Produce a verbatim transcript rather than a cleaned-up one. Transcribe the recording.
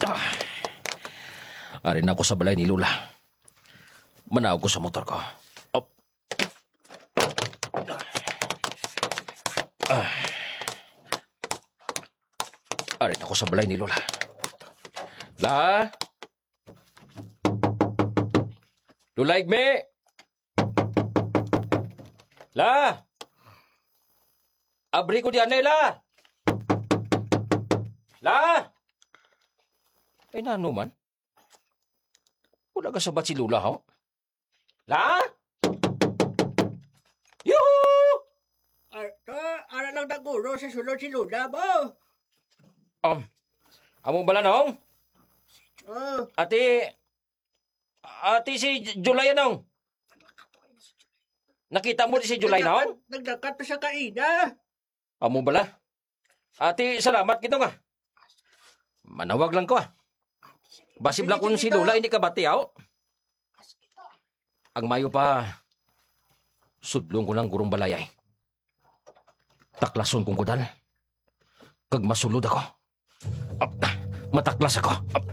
Ah. Ari na ako sa balay ni Lola. Manaog ko sa motor ko. Op. Ah. Ari na ako sa balay ni Lola. La? Lola Igme? La? Abri ko di anay, La. La? Ay, nano man? Wala ka sabat si Lola, ho? La? Yuhu! Ar-, ah, ara lang naguro sa sulod si Lola mo. Um, amo bala, Nong? Oh. Ati, ati si J-, July, Nong? Nakita mo di si July, Nong? Nagdakat, nagdakat pa sa kaina. Amo bala? Ati, salamat gid, Nong, ah. Manawag lang ko, ah. Basi bala kung si Lola hindi kabati, aw. Ang mayo pa, sudlon ko lang gurong balay, ay. Taklason kong kudal. Kag masulod ako. Ap, mataklas ako. Ap,